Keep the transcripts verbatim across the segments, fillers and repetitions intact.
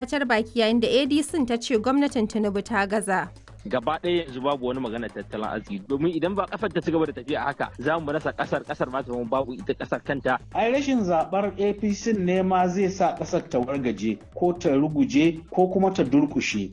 Cacar baki yayin da A D C ta ce gwamnatin Tinubu ta gaza. Gaba ɗaya yanzu babu wani magana tattalin arziki, domin idan ba kasar ta ci gaba da tafiya haka, za mu rasa kasar, kasar ma ta zama babu ita kasar kanta. Ai rashin zabar A P C ne ma zai sa kasar ta wargaje ko ta ruguje ko kuma ta durkushe.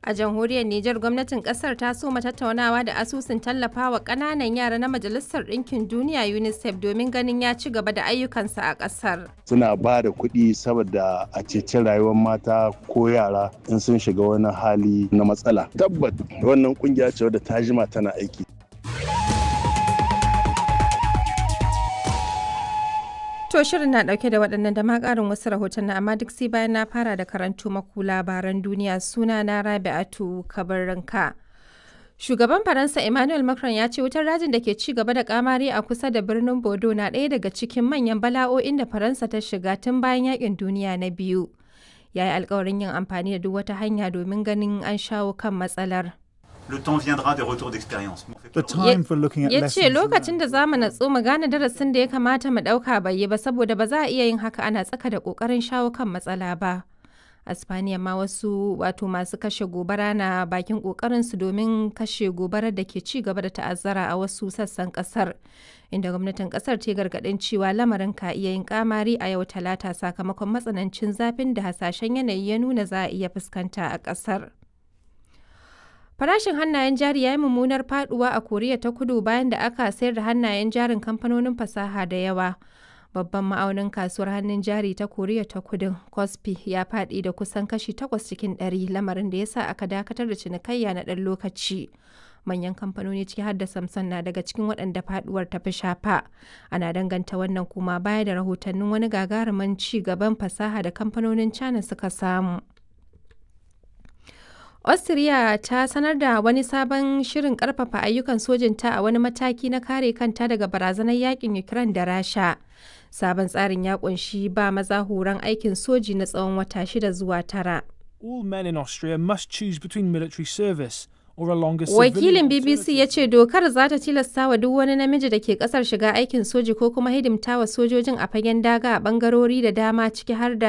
A jamhuriyar Nijar, gwamnatin kasar ta soma tattaunawa da asusun tallafawa ƙananan yara na Majalisar Ɗinkin Duniya UNICEF domin ganin ya ci gaba da ayyukansa a ƙasar. Suna ba da kuɗi saboda a ceci rayuwar mata ko yara in sun shiga wani hali na matsala. Tabbat wannan kungiya ce wadda ta jima tana aiki. To, shirin na dauke da waɗannan da ma ƙarin wasu rahotanni, amma duk sai bayan na fara da karantu maku labaran duniya. Suna na Rabi'atu Kabarranka. Shugaban Faransa Emmanuel Macron ya ce wutar rajin da ke ci gaba da kamari a kusa da birnin Bordeaux na ɗaya daga cikin manyan bala'o'in da Faransa ta shiga tun bayan yakin duniya na biyu. Ya yi alkawarin yin amfani da duk wata hanya domin ganin an shawo kan matsalar. Le temps viendra des retours d'expérience. The time for looking at Ya ce lessons lokacin da za mu natsu mu gane darasin da ya kamata mu ɗauka bai yi ba, saboda ba za a iya yin haka ana tsaka da ƙoƙarin shawo kan matsala ba. A Spaniya ma, wasu wato masu kashe gobara na bakin ƙoƙarinsu domin kashe gobarar da ke ci gaba da ta'azzara a wasu sassan ƙasar, inda gwamnatin ƙasar ta yi gargaɗin cewa lamarin ka iya yin kamari a yau Talata sakamakon matsanancin zafin da hasashen yanayi ya nuna za a iya fuskanta a ƙasar. Farashin hannayen jari ya yi mummunar faduwa a Koriya ta Kudu bayan da aka sayar da hannayen jarin kamfanonin fasaha da yawa. Babban ma'aunin kasuwar hannun jari ta Koriya ta Kudu, Kospi, ya faɗi da kusan kashi takwas cikin ɗari, lamarin da ya sa aka dakatar da cinikayya na ɗan lokaci. Manyan kamfanoni ciki har da Samsung na daga cikin waɗanda faduwar ta fi shafa. Ana danganta wannan kuma baya da rahotannin wani gagarumin ci gaban fasaha da kamfanonin China suka samu. Austria ta sanar da wani sabon shirin karfafa ayyukan sojinta a wani mataki na kare kanta daga barazanar yakin Ukraine da Rasha. Sabon tsarin ya kunshi ba maza horon aikin soji na tsawon wata shida zuwa tara. All men in Austria must choose between military service or a longer Wakilin civilian B B C ya ce dokar za ta tilasta wa duk wani namiji da ke kasar shiga aikin soji ko kuma hidimta wa sojojin a fagen daga a bangarori da dama, ciki har da